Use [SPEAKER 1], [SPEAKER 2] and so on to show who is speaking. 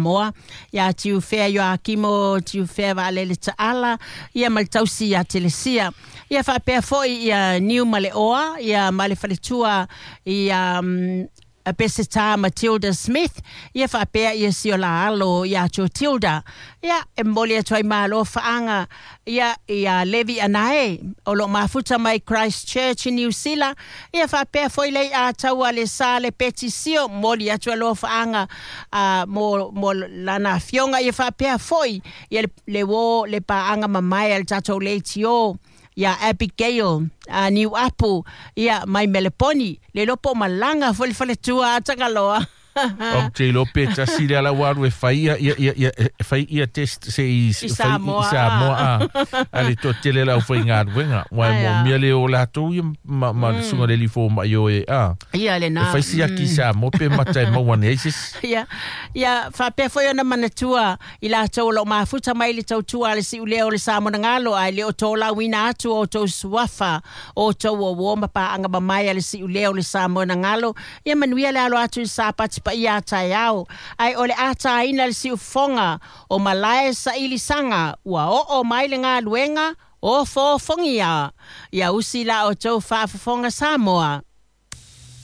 [SPEAKER 1] Samoa, ia Tiufea Ioakimo Tiufea Vaalele Taala, ia ma le tausi ia Telesia. Ia faapea foi ia Niu Maleoa, ia ma le faletua ia Peseta Matilda Smith, ia faapea ia si o la alo ia Tilda. Ia, e momoli atu ai malo faaga ia ia Levi Anae o lo o mafuta mai Christchurch i Niu Sila, ia faapea foi le a taua le sa le Peti Sio, momoli atu alofaaga mo lana afioga, ia faapea foi ia le uo le paaga mamae a le tatou leitio ia Abigail Niu Apu ia mai Meleponi, le iloa po o malaga foi le faletua a Tagaloa.
[SPEAKER 2] Ou te iloa pe tasi le ala ua alu e fai ia, ia, ia, ia, e fai ia test se i,
[SPEAKER 1] I
[SPEAKER 2] fai
[SPEAKER 1] Samoa.
[SPEAKER 2] I Samoa a, a le toatele le aufaigaluega. Ua e
[SPEAKER 1] Ai a.
[SPEAKER 2] moomia le o latou ia ma, ma le susuga i le alii fomai o e a.
[SPEAKER 1] Ia lena.
[SPEAKER 2] E fai siaki i Samoa pe mata e maua ane ai se isi.
[SPEAKER 1] Ia, ia faapea foi ona manatua i latou o lo o mafuta mai le tautua a le siulea o le Samonagalo, ae le o tolauina atu o outou suafa, o outou uouo ma paaga mamae a le siulea o le Samonagalo. Ia manuia le alo atu i Sapati paia a taeao, ae o le a taina le siufofoga o malae sailisaga ua oo mai le galuega ofoofogia. Ia usi la outou faafofoga Samoa.